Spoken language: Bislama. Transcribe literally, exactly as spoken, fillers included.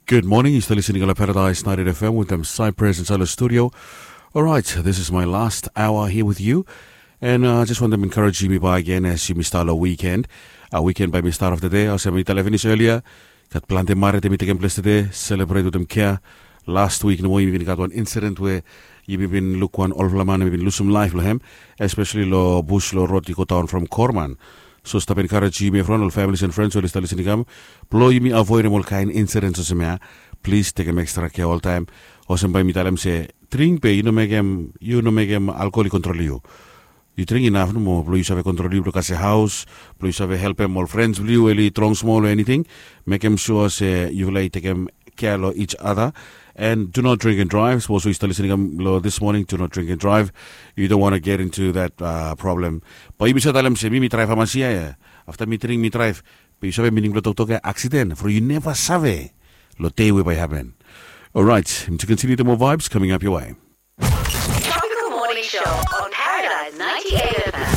Good morning, yu stap listening long Paradise ninety-eight F M wetem Cypress insait long studio. Alright, this is my last hour here with you. And uh, just want to encourage yumi back again as yumi start long weekend. Uh, weekend by mi start of the day, olsem mi talem finis earlier. Gat planti marit yumi tekem ples today, celebrate wetem care. Last week nomo yumi bin gat wan incident where yumi bin luk wan olfala man yumi bin lusum laif long hem, especially lo bus lo rod i go down from Korman. So stap encourage yumi from ol families and friends oli stap listening kam, blo yumi avoidem ol kain incidents olsem ya. Please tekem extra care oltaim. Olsem bai mi talem se, dring be yu no mekem yu no mekem alkohol i kontrol yu. Yu dring inaf nomo blo yu save kontrol yu blo kasem haus, blo yu save helpem ol friends blo yu oli drong smol o anything. Mekem sua se yufala i tekem care lo each other. And do not drink and drive. Sapos yu stap listening kam lo this morning, do not drink and drive. You don't want to get into that uh, problem. Bai yumi save talem se mi mi drive amasia ya. Afta mi dring mi drive. Be yu save mining blo toktok ya aksiden from yu neva save lo dei we bai happen. Alright, mi to continue the more vibes coming up your way. Tropical Morning Show on Paradise ninety-eight F M.